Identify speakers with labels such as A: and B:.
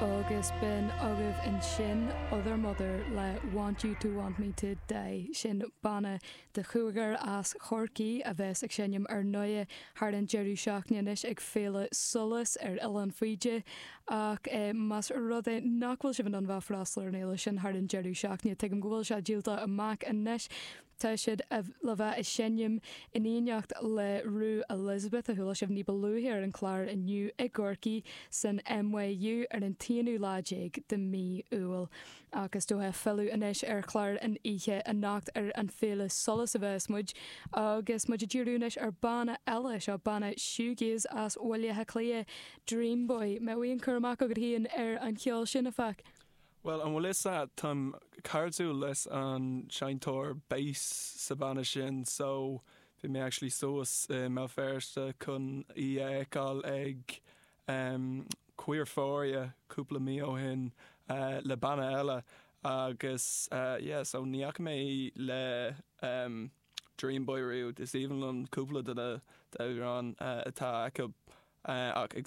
A: Agus b'in agaibh ansin Othermother le Want You To Want Me To Die. Sin banna de chúigear as Chorcaí a bheas ag seinm ar ndóigh thar an deireadh seachtaine anois ag Féile Solas ar Oileán Faoide. Ach más rud é nach bhfuil sibh in ann bheith freastal ar an fhéile sin thar an deireadh seachtaine, tuigim go bhfuil sé díolta amach anois. Tá siad le bheith ag seinm in éineacht le Rue Elizabeth, a chuala sibh ní ba luaithe ar an chlár inniu i gCorcaigh san NYU ar an t-aonú lá déag de mhí Iúil. Ach is dócha filleadh anois ar chlár an oíche anocht ar an Féile Solas a bheas muid agus muid ag díriú anois ar banna eile, seo banna shoegaze as Bhaile Átha Cliath, Dream Boy. Mbeadh aon cur amach agat féin ar an cheol sin, a Phac?
B: Bhuel, an bhfuil fhios a'd, táim cairdiúil leis an seinnteoir bass sa banna sin so bhí mé actually suas i mBéal Feirste chun í a fheiceáil ag Queerphoria cúpla mí ó shin le banna eile agus yeah so ní fhaca mé í le Dream Boy riamh, is aoibhinn liom cúpla de na amhráin atá acu ach ag.